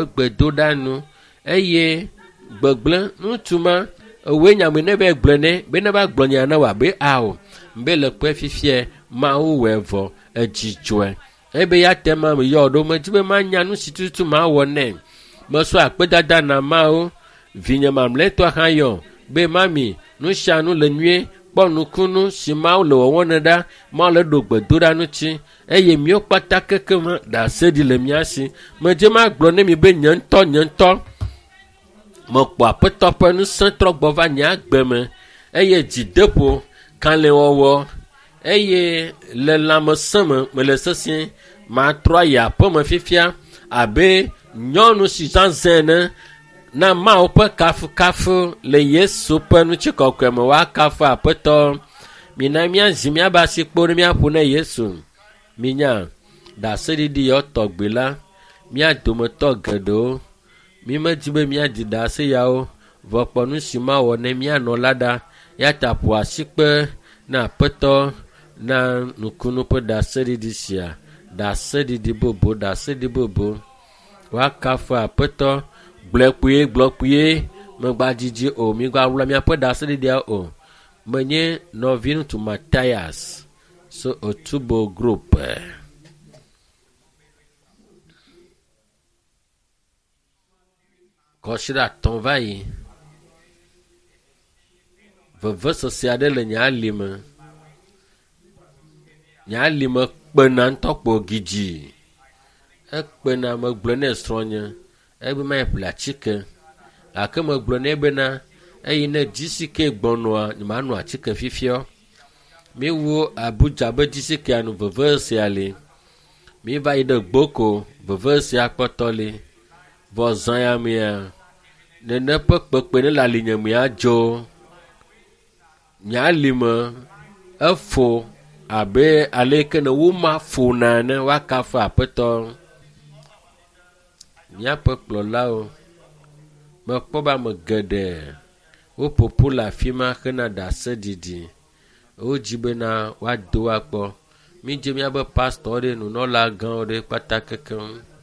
Egbe do ɖa nu eye gbegblẽ ŋutsu ma ewoe nyame ne be gblɔe nɛ be ne va gblɔ nya na wòa be ao be le kpɔe fifia Mawu wɔe vɔ edzi dzɔe ebe ya te ma me yɔ ɖo medzi be manya nu si tututu mawɔ nɛ mesɔ akpedada na Mawu vinye mamlɛtɔ hã yɔ be mami nu sia nu le nyuie kpɔ nukunu si Mawu le wɔwɔ ne ɖa Mawu le ɖo gbedoɖa ŋuti eye míwo kpata kekem ɖase ɖi le mía si medze magblɔ ne mi be nye ŋutɔ nye ŋutɔ mekpɔ aƒetɔ ƒe ŋusẽ trɔ gbɔ va nye agbe me eye dzideƒo kalẽwɔwɔ eye le lãmesẽ me mele sesĩe matrɔ ayi aƒeme fifia abe nyɔnu si zazẽ ene na Mawu ƒe kafukafu le Yesu ƒe ŋutikɔkɔe me woakafu aƒetɔ. Mina míazi míabe asikpo ne míaƒo ne Yesu. Minya ɖaseɖiɖi yawo tɔgbi la, mía dometɔ geɖewo mímedi be míaɖi ɖase yawo vɔ kpɔ nu si mawɔ ne míanɔ la ɖa. Ya ta ƒo asikpe na aƒetɔ na nukunu ƒe ɖaseɖiɖi sia. Ɖaseɖiɖi bubu, ɖaseɖiɖi bubu. Woakafu aƒetɔ. Gblɔe kpuie, gblɔ kpuie. Megbadzidzi o, migaɣla miaƒe ɖaseɖiɖia o. Menye nɔviŋutsu Matthias so Otubo Group. Kɔsiɖa atɔ̃ va yi. Vevesese aɖe le nye alime. Nye alime kpena ŋutɔ kpo gidzi. Ekpena megblɔ nɛ srɔ̃nye ebe mayi ƒle atike gake megblɔ nɛ bena eyi ne dzisike gbɔnɔa nyemanɔ atike fifia. Míewu Abuja be dzisikea nu vevesesea li. Míeva yi ɖe Gboko vevesesea kpɔtɔ li. Vɔ zã ya mea nene ƒe kpekpe ne le alinye mea dzo. Nye alime efo abe ale yi ke ne woma fona ene woakafu aƒetɔ. Míaƒe kplɔlawo mekpɔ be ame geɖe woƒoƒu le afi ma hena ɖaseɖiɖi. Wodzi bena woado akpɔ. Mídze míabe pastɔ ɖe nunɔla gãwo ɖe kpata kekeŋ.